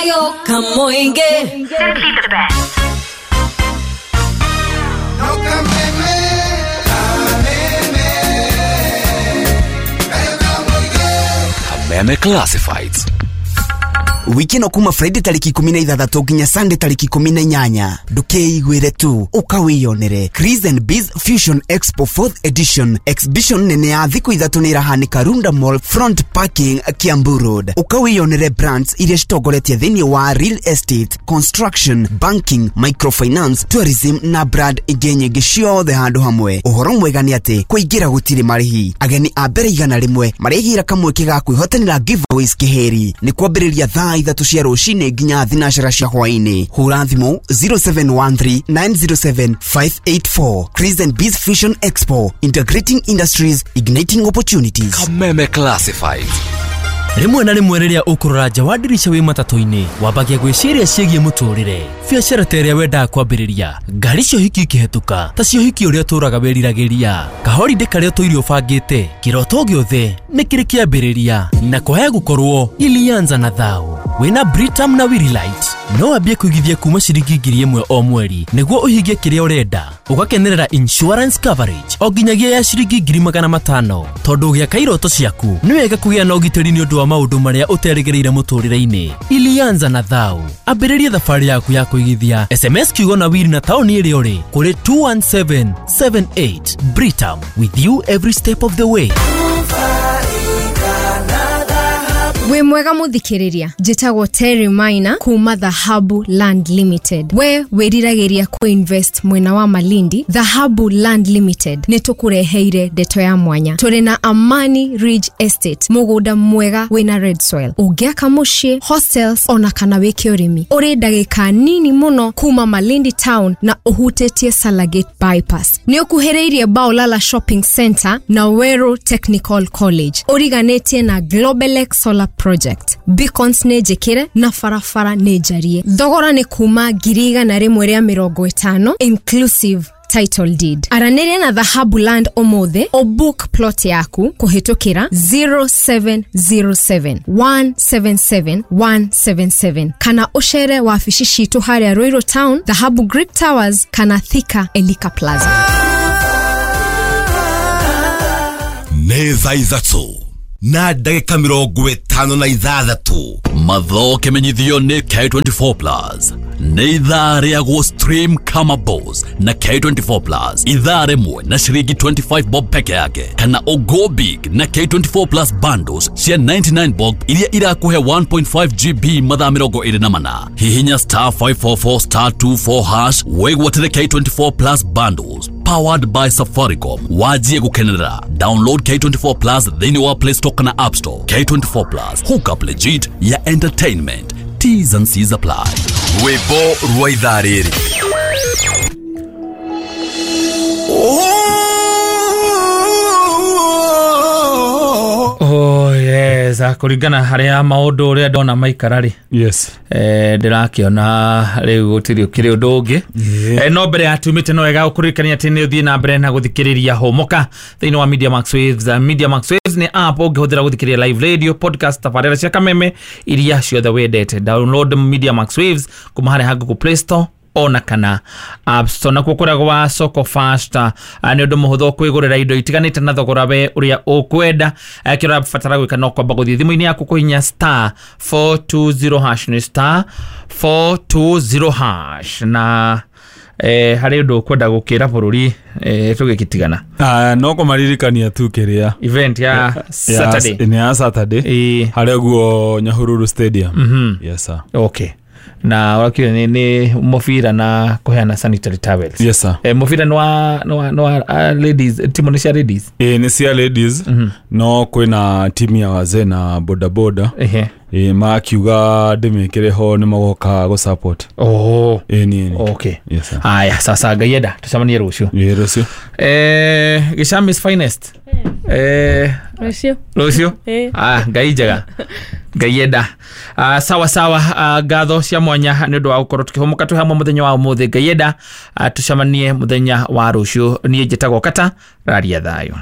Simply the best. Kameme Classifieds. Wiki ĩno kuma Friday tarĩki 16 nginya Sunday tarĩki 18, ndũkeiguĩre tu, ũkawĩyonere. Chris and Biz Fusion Expo 4th edition, exhibition nene ya thikũ 3 nĩ ĩrahanĩka Runda Mall front parking, Kiambu Road. Ũkawĩyonere brands iria citongoretie thĩinĩ wa real estate, construction, banking, microfinance, tourism na brand ingĩ nyingĩ ciothe handũ hamwe. Ũhoro mwega nĩ atĩ kũingĩra gũtirĩ marĩhi. Ageni a mbere 100 marĩgĩra kamweke ga kwĩhotanĩra giveaways kĩhĩri. Nĩ kwambĩrĩria thaa 3 cia rũcinĩ nginya 4 cia hwaĩ-inĩ. Hũra thimũ 0713 907 584. Chris and Biz Fusion Expo, integrating industries, igniting opportunities. Kameme Classifieds. Rĩmwe na rĩmwe rĩrĩa ũkũrora nja wa ndirica wĩ matatũ-inĩ, wambagia gwĩciria ciĩgiĩ mũtũrĩre, biacara ta ĩrĩa wendaga kwambĩrĩria, ngari cia ũhiki ikĩhetũka ta cia ũhiki ũrĩa ũtũraga wĩriragĩria, kahorindĩ karĩa ũtũire ũbangĩte, kĩroto gĩothe nĩ kĩrĩ kĩambĩrĩria, na kwaya gũkorwo ilianza na thau. Wĩna Britam na Willight no wambie kũigithia kuma ciringi 1,000 o mweri nĩguo ũhingie kĩrĩa ũrenda, ũgakenerera insurance coverage o nginyagia ya ciringi 500,000, tondũ ũgĩaka iroto ciaku nĩ wega kũgĩa na ũgitĩri nĩ ũndũ wa maũndũ marĩa ũterĩgĩrĩire mũtũrĩre-inĩ. Ilianza na thau, ambĩrĩria thabarĩ yaku ya kũigithia. SMS kiugo na wili na taũni ĩrĩa ũrĩ kũrĩ 21778. Britam, with you every step of the way. Wĩ mwega mũthikĩrĩria, njĩtagwo Terry Maina kuma Dhahabu Land Limited. We wĩriragĩria kũinvest mwena wa Malindi, Dhahabu Land Limited nĩ tũkũreheire ndeto ya mwanya. Tũrĩ na Amani Ridge Estate, mũgũnda mwega wĩna red soil, ũngĩaka mũciĩ, hostels ona kana wĩke ũrĩmi. Ũrĩ ndagĩka nini mũno kuma Malindi town na ũhutĩtie Salagate bypass. Nĩ ũkuhĩrĩirie Baolala Shopping Center na Weru Technical College. Ũriganĩtie na Globelex Solar Project. Beacons nĩ njĩkĩre na barabara nĩ njarie. Thogora nĩ kuma 150,000 inclusive title deed. Aranĩria na Dhahabu Land ũmũthĩ, ũbook plot yaku kũhĩtũkĩra 0707 177 177 kana ũcere wabici citũ harĩa Ruiru Town, Dhahabu Greek Towers kana Thika Elika Plaza. Nĩ thaa 3 na ndagĩka 56. Matho kĩmenyithio nĩ K24 Plus. Nĩ ithaa rĩa gũ stream kama boss na K24 Plus. Ithaa rĩmwe na ciringi 25 bob peke yake, kana ũgo big na K24 Plus bundles cia 99 bob iria irakũhe 1.5 GB mathaa 24. Hihinya star 544 star 24 hash wĩgwatĩre K24 Plus bundles powered by Safaricom. Wajie gukenerera. Download K24 Plus thĩinĩ wa Play Store kana App Store. K24 Plus, hook up legit ya entertainment. T's and C's apply. Rwĩmbo rwa ithaa rĩrĩ. Oh yes, kũringana harĩa maũndũ ũrĩa ndona maikara rĩ. Yes. Ndĩrakĩona rĩu gũtirĩ ũkĩrĩ ũndũ ũngĩ. No mbere ya tumĩte no wega gũkũririkania atĩ nĩ ũthiĩ na mbere na gũthikĩrĩria Hũmũka thĩinĩ wa Media Max Waves. Media Max Waves nĩ app ũngĩhũthĩra gũthikĩrĩria live radio, podcast, tabarĩra cia Kameme iria ciothe wendete. Download Media Max Waves kuma harĩa ha Google Play Store ona kana App Store. Nakuo kũrĩa gwa Soko Fast nĩ ũndũ mũhũthũ kwĩgũrĩra indo itiganĩte na thogora we ũrĩa ũkwenda. Kĩrĩa ũrabatara gwĩka no kwamba gũthiĩ thimũ-inĩ yaku kũhihinya star 420 hash, nĩ star 420 hash, na harĩ ũndũ ũkwenda gũkĩra bũrũri tũgĩkitigana. No kũmaririkania tu kĩrĩa event ya Saturday. Nĩ ya Saturday harĩa guo Nyahururu Stadium. Yes sir. Okay. Na wakio ni mũbira na kũheana sanitary towels. Yes sir. Mũbira nĩ wa ladies, timu nĩ cia ladies. Nĩ cia ladies. No kwĩna timu ya wazee na boda boda. Makiuga ndĩmĩkĩre ho nĩ magoka gũ support. Oh. Nĩ. Okay. Yes sir. Aya, sasa ngaienda tucemanie rũciũ. Ĩ rũciũ. Gĩcham is finest. Rũciũ. Rũciũ. Ngai njega. Ngaienda. Sawa sawa, ngatho cia mwanya nĩ ũndũ wa gũkorwo tũkĩhũmũka twĩ hamwe mũthenya wa ũmũthĩ. Ngaienda tucemanie mũthenya wa rũciũ. Niĩ njĩtagwo Kata Raria Thayũ.